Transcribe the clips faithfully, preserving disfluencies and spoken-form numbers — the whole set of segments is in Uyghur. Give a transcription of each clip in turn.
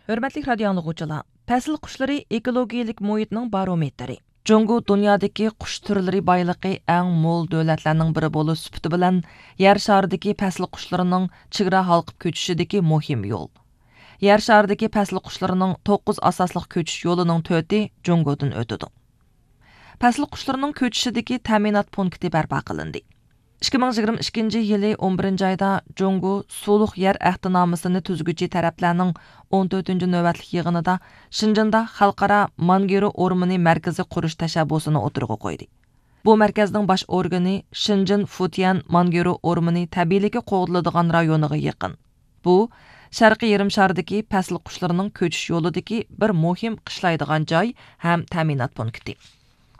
ھۆرمەتلىك رادىيو ئاڭلىغۇچىلار، پەسىل قۇشلىرى ئېكولوگىيىلىك مۇھىتنىڭ بارومېتىرى. جۇڭگو دۇنيادىكى قۇش تۈرلىرى بايلىقى ئەڭ مول دۆلەتلەرنىڭ بىرى بولۇش سۈپىتى بىلەن، يەر شارىدىكى پەسىل قۇشلىرىنىڭ چېگرا ھالقىپ كۆچۈشىدىكى مۇھىم يول. يەر شارىدىكى پەسىل قۇشلىرىنىڭ توققۇز ئاساسلىق كۆچۈش يولىنىڭ تۆتى جۇڭگودىن ئۆتىدۇ. پەسىل قۇشلىرىنىڭ كۆچۈشىدىكى تەمىنات پونكىتى بەرپا قىلىندى. ئىككى مىڭ يىگىرمە ئىككىنچى يىلى ئون بىرىنچى ئايدا جۇڭگو سۇلۇق يەر ئەھدىنامىسىنى تۈزگۈچى تەرەپلەرنىڭ ئون تۆتىنچى نۆۋەتلىك يىغىنىدا شېنجېندا خەلقئارا مانگرو ئورمىنى مەركىزى قۇرۇش تەشەببۇسىنى ئوتتۇرىغا قويدى. بۇ مەركەزنىڭ باش ئورگىنى شېنجېن فۇتيەن مانگرو ئورمىنى تەبىئىيلىكى قوغدىلىدىغان رايونىغا يېقىن. بۇ، شەرقىي يېرىم شاردىكى پەسىل قۇشلىرىنىڭ كۆچۈش يولىدىكى بىر مۇھىم قىشلايدىغان جاي ھەم تەمىنات پونكىتى.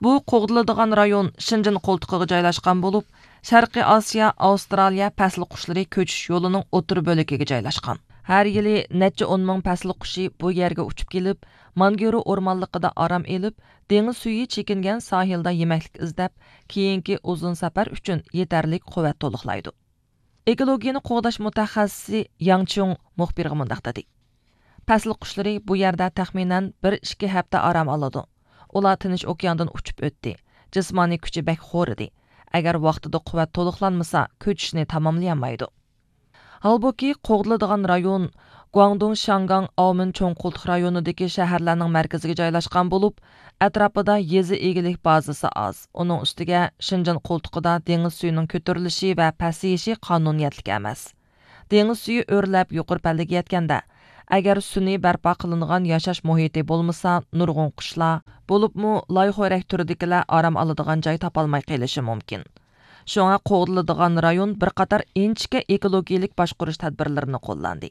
بۇ قوغدىلىدىغان رايون شېنجېن قولتۇقىغا جايلاشقان بولۇپ، شەرقىي ئاسىيا، ئاۋسترالىيە پەسىل قۇشلىرى كۆچۈش يولىنىڭ ئوتتۇرا بۆلىكىگە جايلاشقان. ھەر يىلى نەچچە ئون مىڭ پەسىل قۇشى بۇ يەرگە ئۇچۇپ كېلىپ، مانگرو ئورمانلىقىدا ئارام ئېلىپ، دېڭىز سۈيى چېكىنگەن ساھىلدا يېمەكلىك ئىزدەپ، كېيىنكى ئۇزۇن سەپەر ئۈچۈن يېتەرلىك قۇۋۋەت تولۇقلايدۇ. ئېكولوگىيەنى قوغداش مۇتەخەسسىسى ياڭ چيۇڭ مۇخبىرغا مۇنداق دېدى: پەسىل قۇشلىرى بۇ يەردە تەخمىنەن بىر ئىككى ھەپتە ئارام ئالىدۇ. ئۇلار تىنچ ئوكياندىن ئۇچۇپ ئۆتتى. جىسمانىي كۈچى بەك خورىدى. ئەگەر ۋاقتىدا قۇۋۋەت تولۇقلانمىسا، كۆچۈشنى تاماملىيالمايدۇ. ھالبۇكى، قوغدىلىدىغان رايون گۇاڭدۇڭ شياڭگاڭ ئاۋمېن چوڭ قولتۇق رايونىدىكى شەھەرلەرنىڭ مەركىزىگە جايلاشقان بولۇپ، ئەتراپىدا يېزا ئىگىلىك بازىسى ئاز. ئۇنىڭ ئۈستىگە شېنجېن قولتۇقىدا دېڭىز سۈيىنىڭ كۆتۈرۈلۈشى ۋە پەسىيىشى قانۇنىيەتلىك ئەمەس. دېڭىز سۈيى ئۆرلەپ يۇقىرى پەللىگە يەتكەندە، ئەگەر سۈنئىي بەرپا قىلىنغان ياشاش مۇھىتى بولمىسا، نۇرغۇن قۇشلار، بولۇپمۇ لايخورەك تۈرىدىكىلەر ئارام ئالىدىغان جاي تاپالماي قېلىشى مۇمكىن. شۇڭا قوغدىلىدىغان رايون بىر قاتار ئىنچىكە ئېكولوگىيىلىك باشقۇرۇش تەدبىرلىرىنى قوللاندى.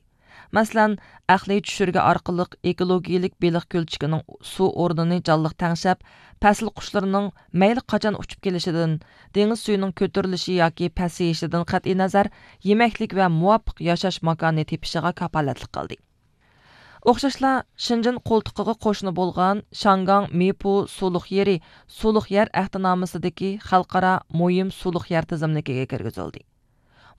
مەسىلەن، ئەقلىي چۈشۈرگە ئارقىلىق ئېكولوگىيىلىك بېلىق كۆلچىكىنىڭ سۇ ئورنىنى جانلىق تەڭشەپ، پەسىل قۇشلىرىنىڭ مەيلى قاچان ئۇچۇپ كېلىشىدىن، دېڭىز سۈيىنىڭ كۆتۈرۈلۈشى ياكى پەسىيىشىدىن قەتئىينەزەر، يېمەكلىك ۋە مۇۋاپىق ياشاش ماكانى تېپىشىغا كاپالەتلىك قىلدى. ئوخشاشلا، شېنجېن قولتۇقىغا قوشنا بولغان شياڭگاڭ مىپۇ سۇلۇق يېرى سۇلۇق يەر ئەھدىنامىسىدىكى خەلقئارا مۇھىم سۇلۇق يەر تىزىملىكىگە كىرگۈزۈلدى.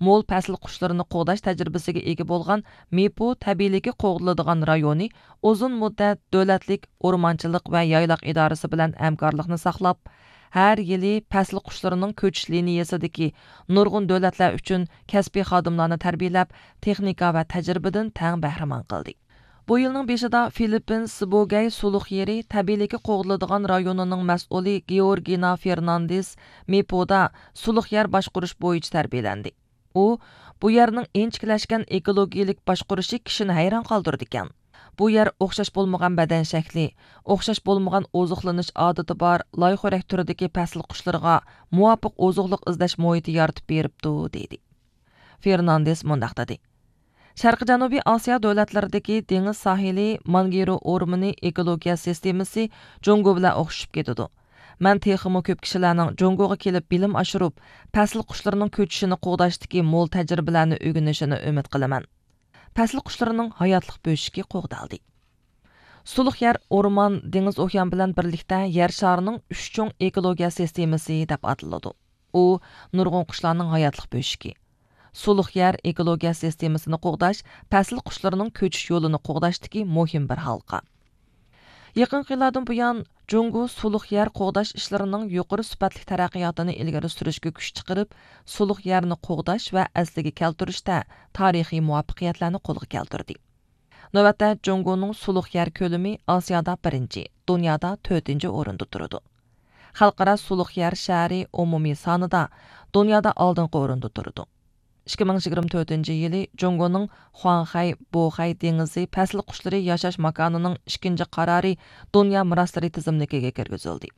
مول پەسىل قۇشلىرىنى قوغداش تەجرىبىسىگە ئىگە بولغان مىپۇ تەبىئىيلىكى قوغدىلىدىغان رايونى ئۇزۇن مۇددەت دۆلەتلىك ئورمانچىلىق ۋە يايلاق ئىدارىسى بىلەن ھەمكارلىقنى ساقلاپ، ھەر يىلى پەسىل قۇشلىرىنىڭ كۆچۈش لىنىيەسىدىكى نۇرغۇن دۆلەتلەر ئۈچۈن كەسپىي خادىملارنى تەربىيەلەپ، تېخنىكا ۋە تەجرىبىدىن تەڭ بەھرىمەن قىلدى. بۇ يىلنىڭ بېشىدا فىلىپپىن سىبوگەي سۇلۇق يېرى تەبىئىيلىكى قوغدىلىدىغان رايونىنىڭ مەسئۇلى گېئورگىنا فېرناندېس مىپۇدا سۇلۇق يەر باشقۇرۇش بويىچە تەربىيەلەندى. ئۇ، بۇ يەرنىڭ ئىنچىكىلەشكەن ئېكولوگىيىلىك باشقۇرۇشى كىشىنى ھەيران قالدۇرىدىكەن. بۇ يەر ئوخشاش بولمىغان بەدەن شەكلى، ئوخشاش بولمىغان ئوزۇقلىنىش ئادىتى بار لايخورەك تۈرىدىكى پەسىل قۇشلىرىغا مۇۋاپىق ئوزۇقلۇق ئىزدەش مۇھىتى يارىتىپ بېرىپتۇ، دېدى. فېرناندېس مۇنداق دېدى: شەرقىي جەنۇبىي ئاسىيا دۆلەتلىرىدىكى دېڭىز ساھىلى مانگرو ئورمىنى ئېكولوگىيە سىستېمىسى جۇڭگو بىلەن ئوخشىشىپ كېتىدۇ. مەن تېخىمۇ كۆپ كىشىلەرنىڭ جۇڭگوغا كېلىپ بىلىم ئاشۇرۇپ، پەسىل قۇشلىرىنىڭ كۆچۈشىنى قوغداشتىكى مول تەجرىبىلەرنى ئۆگىنىشىنى ئۈمىد قىلىمەن. پەسىل قۇشلىرىنىڭ ھاياتلىق بۆشۈكى قوغدالدى. سۇلۇق يەر ئورمان، دېڭىز ئوكيان بىلەن بىرلىكتە يەر شارىنىڭ ئۈچ چوڭ ئېكولوگىيە سىستېمىسى دەپ ئاتىلىدۇ. ئۇ نۇرغۇن قۇشلارنىڭ ھاياتلىق بۆشۈكى. سۇلۇق يەر ئېكولوگىيە سىستېمىسىنى قوغداش پەسىل قۇشلىرىنىڭ كۆچۈش يولىنى قوغداشتىكى مۇھىم بىر ھالقا. يېقىنقى يىللاردىن بۇيان، جۇڭگو سۇلۇق يەر قوغداش ئىشلىرىنىڭ يۇقىرى سۈپەتلىك تەرەققىياتىنى ئىلگىرى سۈرۈشكە كۈچ چىقىرىپ، سۇلۇق يەرنى قوغداش ۋە ئەسلىگە كەلتۈرۈشتە تارىخىي مۇۋەپپەقىيەتلەرنى قولغا كەلتۈردى. نۆۋەتتە، جۇڭگونىڭ سۇلۇق يەر كۆلىمى ئاسىيادا بىرىنچى، دۇنيادا تۆتىنچى ئورۇندا تۇرىدۇ. خەلقئارا سۇلۇق يەر شەھىرى ئومۇمىي سانىدا دۇنيادا ئالدىنقى ئورۇندا تۇرىدۇ. ئىككى مىڭ يىگىرمە تۆتىنچى يىلى جۇڭگونىڭ خۇاڭخەي، بوخەي دېڭىزى پەسىل قۇشلىرى ياشاش ماكانىنىڭ ئىككىنچى قارارى دۇنيا مىراسلىرى تىزىملىكىگە كىرگۈزۈلدى.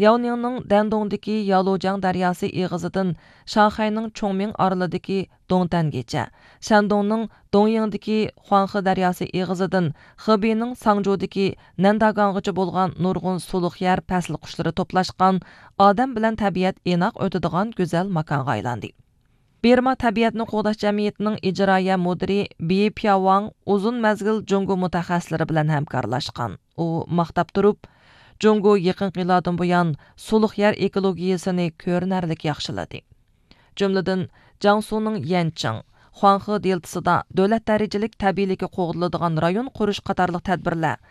لياۋنىڭنىڭ دەندۇڭدىكى يالۇجياڭ دەرياسى ئېغىزىدىن شاڭخەينىڭ چۇڭمىڭ ئارىلىدىكى دۇڭتەنگىچە، شەندۇڭنىڭ دۇڭيىڭدىكى خۇاڭخې دەرياسى ئېغىزىدىن خېبېينىڭ ساڭجۇدىكى نەنداگاڭغىچە بولغان نۇرغۇن سۇلۇق يەر پەسىل قۇشلىرى توپلاشقان، ئادەم بىلەن تەبىئەت ئىناق ئۆتىدىغان گۈزەل ماكانغا ئايلاندى. بىرما تەبىئەتنى قوغداش جەمئىيىتىنىڭ ئىجرائىيە مۇدىرى بى پياۋاڭ ئۇزۇن مەزگىل جۇڭگو مۇتەخەسسىسلىرى بىلەن ھەمكارلاشقان. ئۇ ماختاپ تۇرۇپ، جۇڭگو يېقىنقى يىللاردىن بۇيان سۇلۇق يەر ئېكولوگىيىسىنى كۆرۈنەرلىك ياخشىلىدى. جۈملىدىن، جياڭسۇنىڭ يەنچىڭ، خۇاڭخې دېلتىسىدا دۆلەت دەرىجىلىك تەبىئىيلىكى قوغدىلىدىغان رايون قۇرۇش قاتارلىق تەدبىرلەر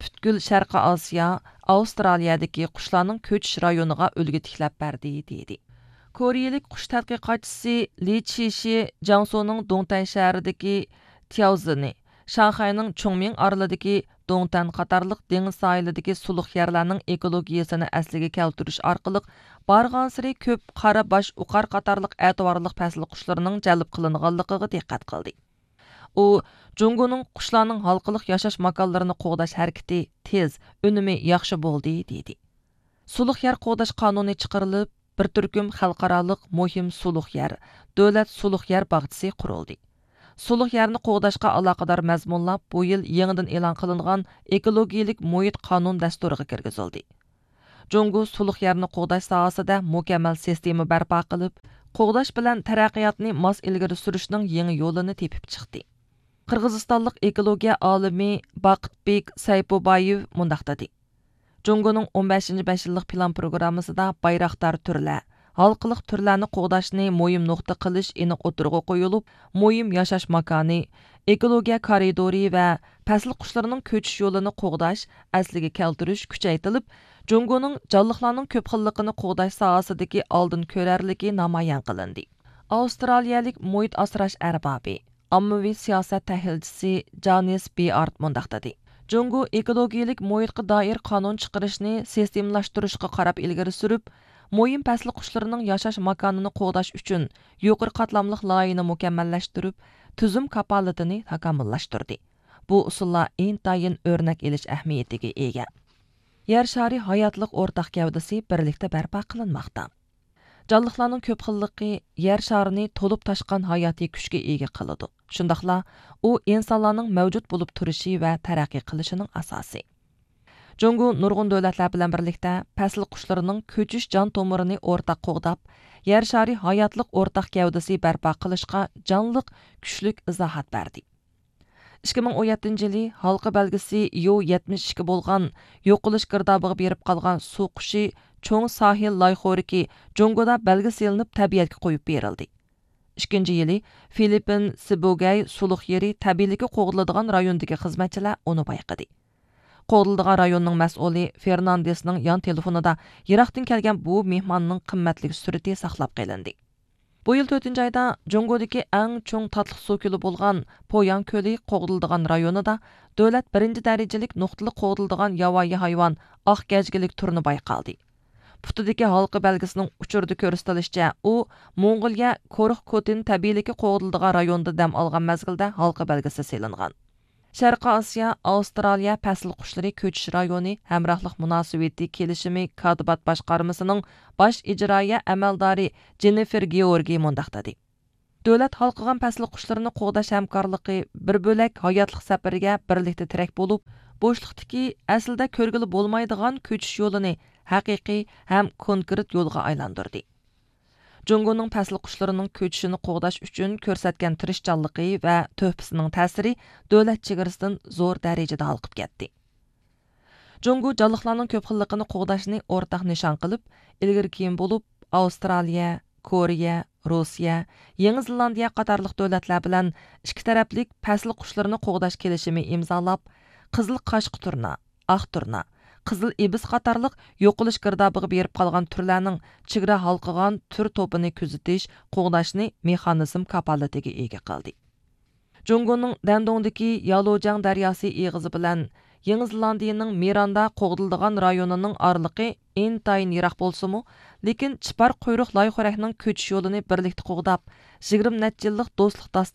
پۈتكۈل شەرقىي ئاسىيا، ئاۋسترالىيەدىكى قۇشلارنىڭ كۆچۈش رايونىغا ئۈلگە تىكلەپ بەردى، دېدى. كورېيىلىك قۇش تەتقىقاتچىسى لى چىشى جياڭسۇنىڭ دۇڭتەن شەھىرىدىكى تياۋزېنى، شاڭخەينىڭ چۇڭمىڭ ئارىلىدىكى دۇڭتەن قاتارلىق دېڭىز ساھىلىدىكى سۇلۇق يەرلەرنىڭ ئېكولوگىيىسىنى ئەسلىگە كەلتۈرۈش ئارقىلىق، بارغانسېرى كۆپ قارا باش ئوقار قاتارلىق ئەتىۋارلىق پەسىل قۇشلىرىنىڭ جەلپ قىلىنغانلىقىغا دىققەت قىلدى. ئۇ، جۇڭگونىڭ قۇشلارنىڭ ھالقىلىق ياشاش ماكانلىرىنى قوغداش ھەرىكىتى تېز، ئۈنۈمى ياخشى بولدى، دېدى. سۇلۇق يەر قوغداش قانۇنى چىقىرىلىپ، بىر تۈركۈم خەلقئارالىق مۇھىم سۇلۇق يەر، دۆلەت سۇلۇق يەر باغچىسى قۇرۇلدى. سۇلۇق يەرنى قوغداشقا ئالاقىدار مەزمۇنلار بۇ يىل يېڭىدىن ئېلان قىلىنغان ئېكولوگىيىلىك مۇھىت قانۇن دەستۇرىغا كىرگۈزۈلدى. جۇڭگو سۇلۇق يەرنى قوغداش ساھەسىدە مۇكەممەل سىستېما بەرپا قىلىپ، قوغداش بىلەن تەرەققىياتنى ماس ئىلگىرى سۈرۈشنىڭ يېڭى يولىنى تېپىپ چىقتى. قىرغىزىستانلىق ئېكولوگىيە ئالىمى باقىتبېك سەيپۇبايېۋ مۇنداق دېدى: جۇڭگونىڭ ئون بەشىنچى بەش يىللىق پىلان پروگراممىسىدا بايراقدار تۈرلەر، ھالقىلىق تۈرلەرنى قوغداشنى مۇھىم نۇقتا قىلىش ئېنىق ئوتتۇرىغا قويۇلۇپ، مۇھىم ياشاش ماكانى، ئېكولوگىيە كارىدورى ۋە پەسىل قۇشلىرىنىڭ كۆچۈش يولىنى قوغداش، ئەسلىگە كەلتۈرۈش كۈچەيتىلىپ، جۇڭگونىڭ جانلىقلارنىڭ كۆپ خىللىقىنى قوغداش ساھەسىدىكى ئالدىن كۆرەرلىكى نامايان قىلىندى. ئاۋسترالىيەلىك مۇھىت ئاسراش ئەربابى، ئاممىۋى سىياسەت تەھلىلچىسى جانىس بىئارت مۇنداق دېدى: جۇڭگو ئېكولوگىيىلىك مۇھىتقا دائىر قانۇن چىقىرىشنى سىستېمىلاشتۇرۇشقا قاراپ ئىلگىرى سۈرۈپ، مۇھىم پەسىل قۇشلىرىنىڭ ياشاش ماكانىنى قوغداش ئۈچۈن يۇقىرى قاتلاملىق لايىھىنى مۇكەممەللەشتۈرۈپ، تۈزۈم كاپالىتىنى تاكامۇللاشتۇردى. بۇ ئۇسۇللار ئىنتايىن ئۆرنەك ئېلىش ئەھمىيىتىگە ئىگە. يەر شارى ھاياتلىق ئورتاق گەۋدىسى بىرلىكتە بەرپا قىلىنماقتا. جانلىقلارنىڭ كۆپ خىللىقى يەر شارىنى تولۇپ تاشقان ھاياتىي كۈچكە ئىگە قىلىدۇ. شۇنداقلا ئۇ ئىنسانلارنىڭ مەۋجۇت بولۇپ تۇرۇشى ۋە تەرەققىي قىلىشىنىڭ ئاساسى. جۇڭگو نۇرغۇن دۆلەتلەر بىلەن بىرلىكتە پەسىل قۇشلىرىنىڭ كۆچۈش جان تومۇرىنى ئورتاق قوغداپ، يەر شارى ھاياتلىق ئورتاق گەۋدىسى بەرپا قىلىشقا جانلىق، كۈچلۈك ئىزاھات بەردى. ئىككى مىڭ ئون يەتتىنچى يىلى ھالقا بەلگىسى يو يەتمىش ئىككى بولغان يوقىلىش گىردابىغا بېرىپ قالغان سۇ قۇشى چوڭ ساھىل لايخورىكى جۇڭگودا بەلگىسى ئېلىنىپ تەبىئەتكە قويۇپ بېرىلدى. ئىككىنچى يىلى فىلىپپىن سىبۇگەي سۇلۇق يېرى تەبىئىيلىكى قوغدىلىدىغان رايوندىكى خىزمەتچىلەر ئۇنى بايقىدى. قوغدىلىدىغان رايوننىڭ مەسئۇلى فېرناندېسنىڭ يان تېلېفونىدا يىراقتىن كەلگەن بۇ مېھماننىڭ قىممەتلىك سۈرىتى ساقلاپ قېلىندى. بۇ يىل تۆتىنچى ئايدا جۇڭگودىكى ئەڭ چوڭ تاتلىق سۇ كۆلى بولغان پوياڭ كۆلى قوغدىلىدىغان رايونىدا دۆلەت بىرىنچى دەرىجىلىك نۇقتىلىق قوغدىلىدىغان ياۋايى ھايۋان ئاق گەجگىلىك تۇرنا بايقالدى. پۇتىدىكى ھالقا بەلگىسىنىڭ ئۇچۇردا كۆرسىتىلىشىچە، ئۇ موڭغۇلىيە كورخ كوتىن تەبىئىيلىكى قوغدىلىدىغان رايوندا دەم ئالغان مەزگىلدە ھالقا بەلگىسى سېلىنغان. شەرقىي ئاسىيا، ئاۋسترالىيە پەسىل قۇشلىرى كۆچۈش رايونى ھەمراھلىق مۇناسىۋىتى كېلىشىمى كاتىبات باشقارمىسىنىڭ باش ئىجرائىيە ئەمەلدارى جېننىفېر گېئورگى مۇنداق دېدى: دۆلەت ھالقىغان پەسىل قۇشلىرىنى قوغداش ھەمكارلىقى بىر بۆلەك ھاياتلىق سەپىرىگە بىرلىكتە تىرەك بولۇپ، بوشلۇقتىكى، ئەسلىدە كۆرگىلى بولمايدىغان كۆچۈش يولىنى ھەقىقىي ھەم كونكرېت يولغا ئايلاندۇردى. جۇڭگونىڭ پەسىل قۇشلىرىنىڭ كۆچۈشىنى قوغداش ئۈچۈن كۆرسەتكەن تىرىشچانلىقى ۋە تۆھپىسىنىڭ تەسىرى دۆلەت چېگرىسىدىن زور دەرىجىدە ھالقىپ كەتتى. جۇڭگو جانلىقلارنىڭ كۆپ خىللىقىنى قوغداشنى ئورتاق نىشان قىلىپ، ئىلگىرى كېيىن بولۇپ ئاۋسترالىيە، كورېيە، روسىيە، يېڭى زېلاندىيە قاتارلىق دۆلەتلەر بىلەن ئىككى تەرەپلىك پەسىل قۇشلىرىنى قوغداش كېلىشىمى ئىمزالاپ، قىزىل قاشقا تۇرنا، ئاق تۇرنا، قىزىل ئىبىس قاتارلىق يوقىلىش گىردابىغا بېرىپ قالغان تۈرلەرنىڭ چېگرا ھالقىغان تۈر توپىنى كۆزىتىش، قوغداشنى مېخانىزم كاپالىتىگە ئىگە قىلدى. جۇڭگونىڭ دەندۇڭدىكى يالۇجياڭ دەرياسى ئېغىزى بىلەن يېڭى زېلاندىيىنىڭ مىراندا قوغدىلىدىغان رايونىنىڭ ئارىلىقى ئىنتايىن يىراق بولسىمۇ، لېكىن چىپار قۇيرۇق لايخورەكنىڭ كۆچۈش يولىنى بىرلىكتە قوغداپ، يىگىرمە نەچچە يىللىق دوستلۇق داستىنى